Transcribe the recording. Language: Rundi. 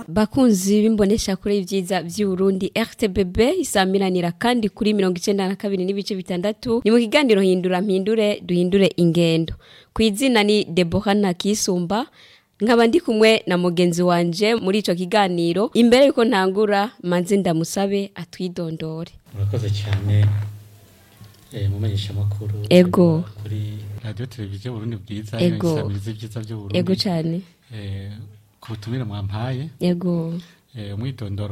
Bakunzi b'imbonesha kure y'ivyiza vy'Uburundi RTBB isamiranira kandi kuri 92.6, ni mu kiganiro Hindura Mpindure Duhindure Ingendo. Kw'izina ni Deborah Ntakisumba, nkaba ndi kumwe na mugenzi wanje muri ico kiganiro. Imbere yuko ntangura, manze ndamusabe atwidondore. Murakoze cyane, mumenyesha makuru kuri radio televiziyo Burundi Bwiza, isamiriza ibyiza by'Uburundi. Ego cyane. Ku butumire mwampaye. Umwidondoro.